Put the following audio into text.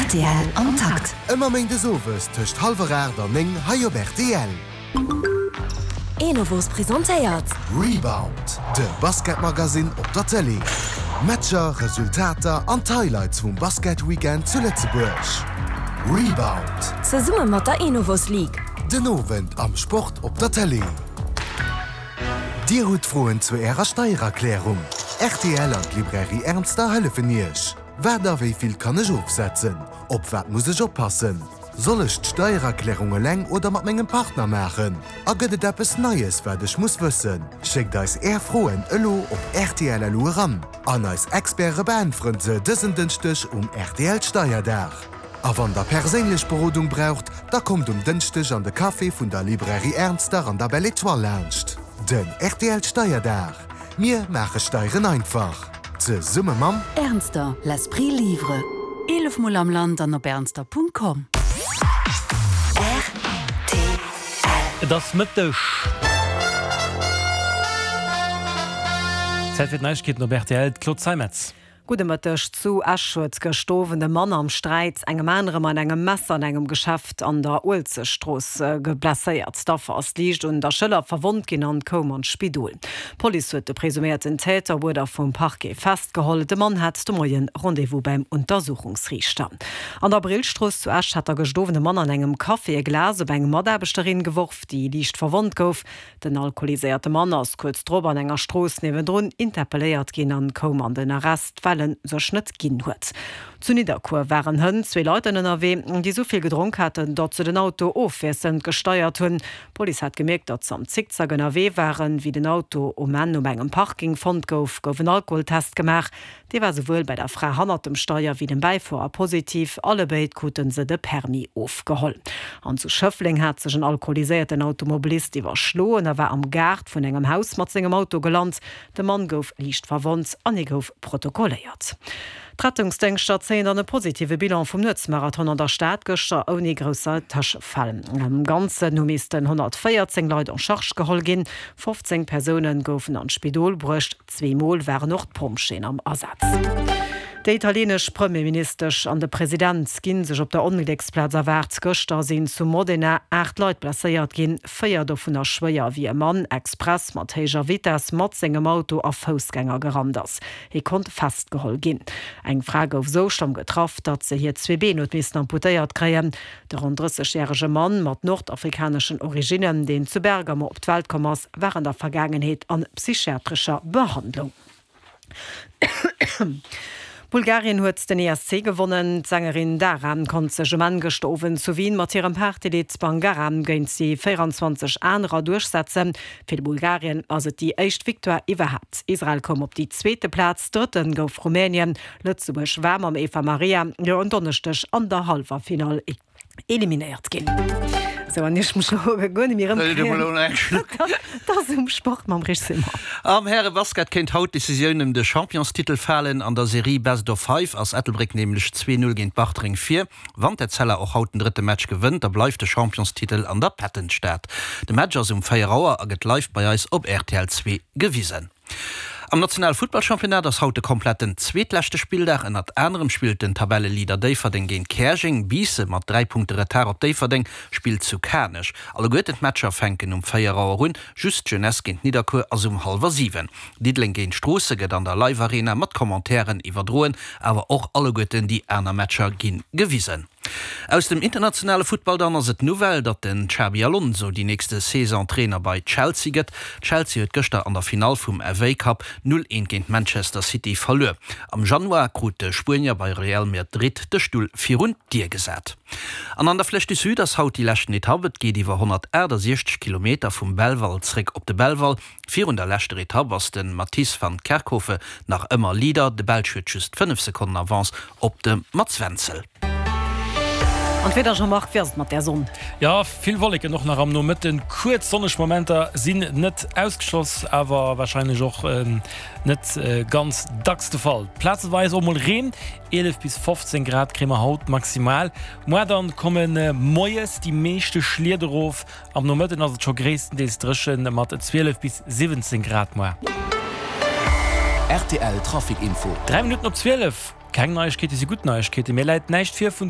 Rtl am Takt. Ëmmer méindes owes tëscht hallwer 8 an 9 hei op rtl. Enovos presentéiert. Rebound, de Basketmagazin op der Tëlee. Matcher, Resultater an d'Highlights vum Basketweekend zu Lëtzebuerg. Rebound. Zesumme mat der Enovos League. Den Owend am Sport op der Tëlee. Dir hutt Froen zu Ärer Steiererklärung? Rtl an d'Librairie Ernster hëllefen Iech. Wat a wéi vill kann ech ofsetzen? Op wat muss ech oppassen? Soll ech d'Steiererklärung eleng oder mat mengem Partner maachen? A gëtt et eppes Neies wat ech muss wëssen? Schéckt eis Är Froen elo op rtl.lu eran an eis Experte beäntweren se dësen Dënschdeg um rtl Steierdag. A wann der perséinlech Berodung braucht, da kommt um Dënschdeg an de Café vun der Librairie Ernster an der Belle Etoile laanscht. Den rtl Steierdag, Mir maache Steieren einfach! Zesumme mam. Ernster, l'esprit livre. 11 mol am Land an op ernster.com. Rtl. Et ass Mëtteg. Zäit fir d'Neiegkeeten op rtl, d'Claude Zeimetz. Gudde Mëtteg. Zu Esch huet gëscht Owend e Mann am Sträit engem anere mat engem Messer an engem Geschäft an der Uelzechtstrooss blesséiert. D'Affer ass liicht un der Schëller verwonnt ginn an koum an d'Spidol. D'Police huet de presuméierten Täter op Uerder vum Parquet festgeholl. De Mann hat de Moie Rendez-vous beim Untersuchungsriichter. An der Brillstrooss zu Esch hat da gëscht Owend e Mann an engem Café e Glas op eng Mataarbechterin geworf, déi liicht verwonnt gouf. Den alkoholiséierte Mann ass kuerz drop an enger Strooss niewendrun interpelléiert ginn an koum an den Arrest, well en sech net ginn huet. Zu Nidderkuer waren hënt zwee Leit ënnerwee, déi sou vill gedronk haten, datt se den Auto ofwiesselnd gesteiert hunn. D'Police hat gemierkt, datt se am Zickzack ënnerwee waren. Wéi den Auto um Enn op engem Parking fonnt gouf, gouf en Alkoholtest gemaach. Dee war souwuel bei der Fra hannert dem Steier wéi dem Bäifuerer positiv. Allebéid krute se de Permis ofgeholl. An zu Schëffleng hat sech en alkoholiséierten Automobilist iwwerschloen a war am Gaart vun engem Haus mat sengem Auto gelant. De Mann gouf liicht verwonnt an hie gouf protokolléiert. D'Rettungsdéngschter zéien dann e positive Bilan vum Nuetsmarathon an der Stad gëschter ouni grousser Tëschefäll. Am Ganzen hu missten 114 Leit en charge geholl ginn, 15 Persoune goufen an d'Spidol bruecht. Zweemol waren och d'Pompjeeën am Asaz. Déi italienesch Premierministesch an de President gi sech op der Onglécksplaz erwaart. Gëschter sinn zu Modena 8 Leit blesséiert ginn, 4 dovunner schwéier, wéi e Mann express mat héijer Vitess mat sengem Auto a Foussgänger gerannt ass. Hie konnt festgeholl ginn. Eng Fra gouf esou schlëmm getraff, datt se hir zwee Been huet missen amputéiert kréien. De ronn 30 järege Mann mat nordafrikaneschen Originnen, deen zu Bergamo op d'Welt komm ass, war an der Vergaangenheet an psychiatrescher Behandlung. Bulgarien huet den ESC gewonnen. D'Sängerin Dara konnt sech um Enn gëschter Owend zu Wien mat hirem Partylidd Bangara géint déi 24 anerer duerchsetzen. Fir Bulgarien ass et déi éischt Victoire iwwerhaapt. Israel koum op déi zweete Plaz, Drëtte gouf Rumänien. Lëtzebuerg war mam Eva Maria jo en Donneschdeg an der Hallwerfinall eliminéiert ginn. Sou, an iech mech elo guer net méi erëmkréien. Dat ass um Sport mam Rich Simon. Am Härebasket kéint haut d'Decisioun ëm de Championstitel falen. An der Serie Best of Five ass Ettelbréck nämlech 2, 0 géint Bartreng vir. Wann d'Etzella och haut den drëtte Match gewënnt, da bleift de Championstitel an der Pattonstad. De Match ass um 4 Auer a gëtt live bei eis op rtl 2 gewisen. Am nationale Futtballchampionnat ass haut de kompletten zweetleschte Spilldag. Ënnert anerem spillt den Tabelleleader Déifferdeng géint Käerjeng. Biissen, mat 3 Punkte Retard op Déifferdeng, spillt zu Kanech. Alleguerten d'Matcher fänken um 4 Auer un, just d'Jeunesse géint Nidderkuer ass um hallwer 7. Diddeleng géint Stroosse gëtt an der Live Arena mat Commentairen iwwerdroen, awer och alleguerten déi aner Matcher gi gewisen. Aus dem internationale Futtball dann ass et d'Nouvelle, datt den Xabi Alonso déi nächste Saison Trainer bei Chelsea gëtt. Chelsea huet gëschter an der Finall vum FA Cup 0, 1 géint Manchester City verluer. Am Januar krut de Spuenier bei Real Madrid de Stull virun d'Dier gesat. An an der Flèche du Sud ass haut déi leschten Etapp. Et geet iwwer 168 Kilometer vum Belval zréck op de Belval. Virun der leschter Etapp ass de Matisse van Kerkhove nach ëmmer Leader. De Belsch huet just 5 Sekonnen Avance op de Mats Wenzel. An d'Wieder, Jean-Marc, wéi ass et mat där Sonn? Jo, vill Wolleken och nach am Nomëtten. Kuerz sonneg Momenter sinn net ausgeschloss, awer warscheinlech och net ganz dacks de Fall. Plazeweis och mol Reen, 11 bis 15 Grad kréie mer haut maximal. Muar dann komme moies déi meeschte Schliet erof, Am Nomëtten ass et scho gréisstendeels dréchen mat 12 bis 17 Grad muar. Rtl Trafic Info. 3 Minutten op 12. Keng Neiegkeete si gutt Neiegkeeten. Mir läit näischt vir vun de.